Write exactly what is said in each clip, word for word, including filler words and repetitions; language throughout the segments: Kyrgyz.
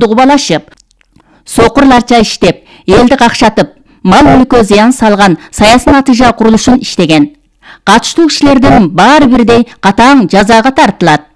кубалашып, сокурларча иштеп, элди какшатып, мал мүлккө зыян салган саясий натыйжа курулушун иштеген. Катыштуу кишилердин баары бирдей катаң жазага тартылат.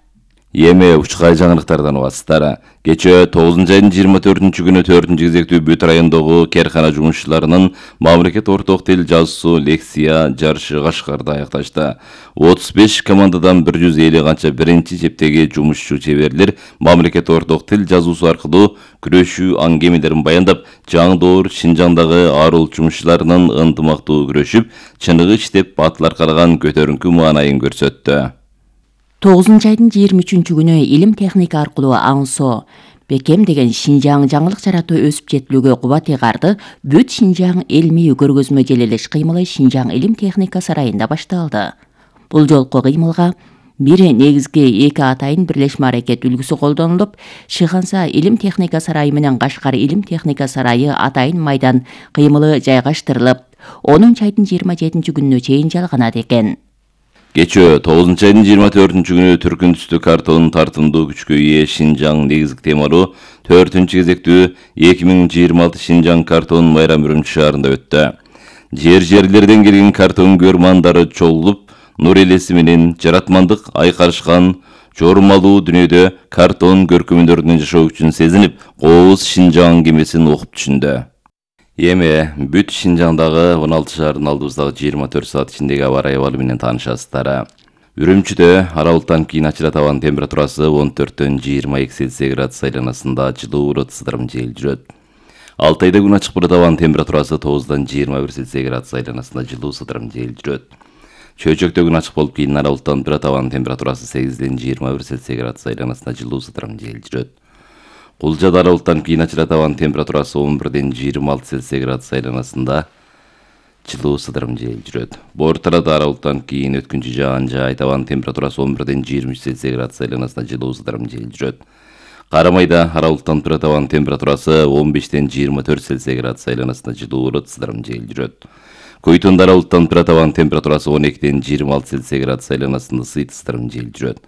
Эми учкай жаңылыктардан убасыздар. Кечээ тогузунчу айдын жыйырма төртүнчү күнү төртүнчү кезектүү бүт райондогу каркана жумушчуларынын мамлекет орток тил жазуусу лекция жарышы Кашкарда аякташты. отуз беш командадан бир жүз элүү канча биринчи чептеги жумушчу чеберлер мамлекет орток тил жазуусу аркылуу күрөшүү аңгемелерин баяндап, жаңдоор Шинжаңдагы арул жумушчуларынын ынтымактуу күрөшүп, чыныгы иштеп, батыл аркалаган көтөрүнкү маанайын көрсөттү. тогузунчу айдын жыйырма үчүнчү күнү илим техника аркылуу аңсоо, бекем деген Шинжаң жаңылык жаратуу өсүп жетилүүгө кубат ыйгарды бүт Шинжаң илмий көргөзмө желелеш кыймылы Шинжаң илим техника сарайында башталды. Бул жолку кыймылга бир негизги эки атайын бирлешме аракет үлгүсү колдонулуп, Шыханса илим техника сарайы менен Кашкар илим техника сарайы атайын майдан кыймылы жайгаштырылып, онунчу айдын жыйырма жетинчи күнүнө чейин жалганат экен. Кечээ тогузунчу айдын жыйырма төртүнчү күнү түркүн түстүү картонун тартымдуу күчкө ээ Шинжаң негизги темалуу төртүнчү кезектүү эки миң жыйырма алты Шинжаң картон майрам Үрүмчү шаарында өттү. Жер жерлерден келген картон көрмандары чогулуп, нур элеси менен жаратмандык айкарышкан жормалуу дүйнөдө картон көркөмдөрүнүн жашоо үчүн сезинип, кооз Шинжаң кемесин окуп түшүндү. Эми бүт Шинжаңдагы он алты шаардын алдыбыздагы жыйырма төрт саат ичиндеги аба ырайы абалы менен таанышасыздар. Үрүмчүдө аралыктан кийин ачыра табан температурасы он төрттөн жыйырма эки Цельсий градус айланасында жылуу ытсыдырым жел жүрөт. Алтайда күн ачык бара табан температурасы тогуздан жыйырма бир Цельсий градус айланасында жылуу сыдырым жел жүрөт. Чөйчөктө күн ачык болуп кийин аралыктан бара табан температурасы сегизден жыйырма бир Цельсий градус айланасында жылуу сыдырым жел жүрөт. Кулжада аралыктан кийин ачыра табан температурасы он бирден жыйырма алты Цельсий градус айланасында жылуу сыдырым жел жүрөт. Бортарада аралыктан кийин өткүнчү жаан жай табан температурасы он бирден жыйырма үч Цельсий градус айланасында жылуу сыдырым жел жүрөт. Карамайда аралыктан бара табан температурасы он бештен жыйырма төрт Цельсий градус айланасында жылуу ытсыдырым жел жүрөт. Көйтөндө аралыктан бара табан температурасы он экиден жыйырма алты Цельсий градус айланасында ысытырым жел жүрөт.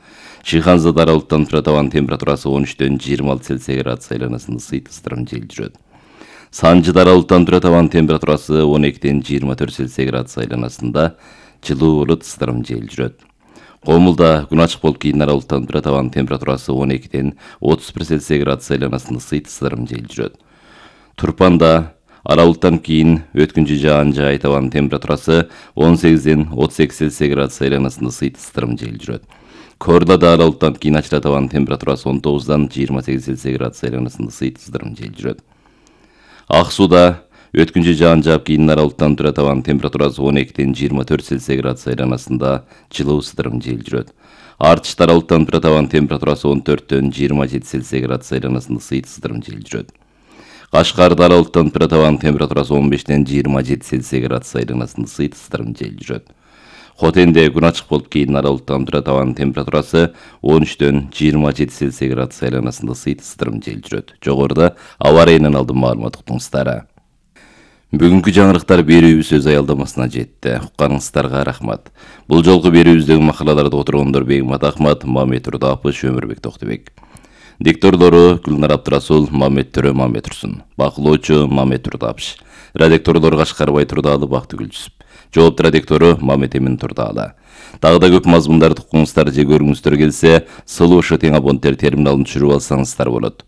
Шыханзада аралыктан бара табан температурасы он үчтөн жыйырма алты Цельсий градус айланасында ысытырым жел жүрөт. Санжыда аралыктан бара табан температурасы он экиден жыйырма төрт Цельсий градус айланасында жылуу ытсыдырым жел жүрөт. Комулда күн ачык болуп кийин аралыктан бара табан температурасы он экиден отуз бир Цельсий градус айланасында ысытырым жел жүрөт. Турпанда аралыктан кийин өткүнчү жаан жай табан температурасы он сегизден отуз эки Цельсий градус айланасында ысытырым жел жүрөт. Корлада аралыктан кийин ачыра табан температурасы он тогуздан жыйырма сегиз Цельсий градус айланасында ысытырым жел жүрөт. Ак сууда өткүнчү жаан жаап кийин аралыктан бара табан температурасы он экиден жыйырма төрт Цельсий градус айланасында жылуу ысытырым жел жүрөт. Артышта аралыктан бара табан температурасы он төрттөн жыйырма жети Цельсий градус айланасында ысытырым жел жүрөт. Кашкарда аралыктан бара табан температурасы он бештен жыйырма жети Цельсий градус айланасында ысытырым жел жүрөт. Хотенде күн ачык болуп кийин аралыктан бара табан температурасы он үчтөн жыйырма жети Цельсий градус айланасында ысытырым жел жүрөт. Жогоруда аба ырайынан алдым маалымат уктуңуздар. Бүгүнкү жаңырыктар берүүбүз өз аялдамасына жетти. Укканыңыздарга рахмат. Бул жолку берүүбүздөгү макалаларды отургондор Бегмат Ахмат, Мамет Турдапов, Өмүрбек Токтубек. Дикторлору Гүлнар Абдрасул, Мамет Төрө, Мамет Турсун. Бакылоочу Мамет Турдапов. Редакторлор Кашкарбай Турдаалы, Бактыгүл Жүсүп. Жоопту редактору Мамет Эмин Турдаалы. Дагы да көп мазмундарды уккуңуздар же көргүңүздөр келсе, сылуу ошо тең абоненттер терминалын түшүрүп алсаңыздар болот.